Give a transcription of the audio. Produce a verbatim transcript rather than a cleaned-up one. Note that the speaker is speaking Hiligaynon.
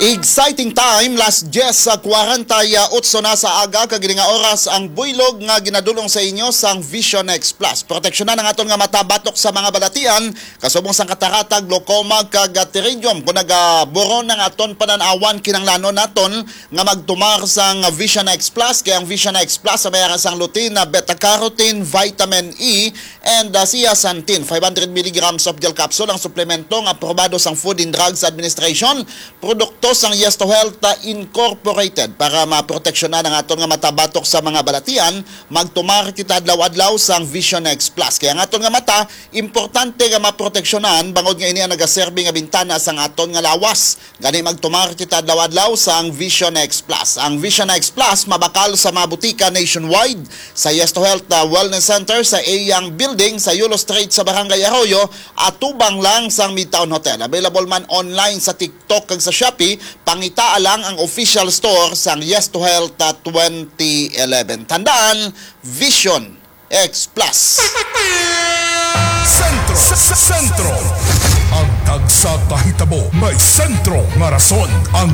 Exciting time, las dyes sa kwarenta y otso na sa aga, kag ini nga oras ang buylog nga ginadulong sa inyo sang Vision X Plus. Proteksyonan ang aton nga mata batok sa mga balatian, kasubong sang katarata, glaucoma, kag pterygium. Kung nagaburon ang aton panan-awan, kinahanglanon naton nga magtumar sang Vision X Plus, kay ang Vision X Plus may ara sang lutein, beta carotene, vitamin E, and uh, zeaxanthin, five hundred milligrams of gel capsule, ang suplemento nga aprobado sang Food and Drugs Administration, produkto sang Yes to Health uh, Incorporated. Para maproteksyonan ang aton nga mata batok sa mga balatian, magtumar kita adlaw-adlaw sang Vision X Plus. Kaya ang aton nga mata, importante nga maproteksyonan, bangod nga ini ang nagaserbi nga bintana sang aton nga lawas. Gani, magtumar kita adlaw-adlaw sang Vision X Plus. Ang Vision X Plus mabakal sa mga butika nationwide, sa Yes to Health uh, Wellness Center, sa Eyang Building, sa Yulo Street, sa Barangay Arroyo, atubang lang sang Midtown Hotel. Available man online sa TikTok kag sa Shopee. Pangitaa lang ang official store sang Yes to Health uh, twenty eleven. Tandaan, Vision X Plus. Sentro, sentro. Ang tagsa ka hitabo may sentro nga rason. Ang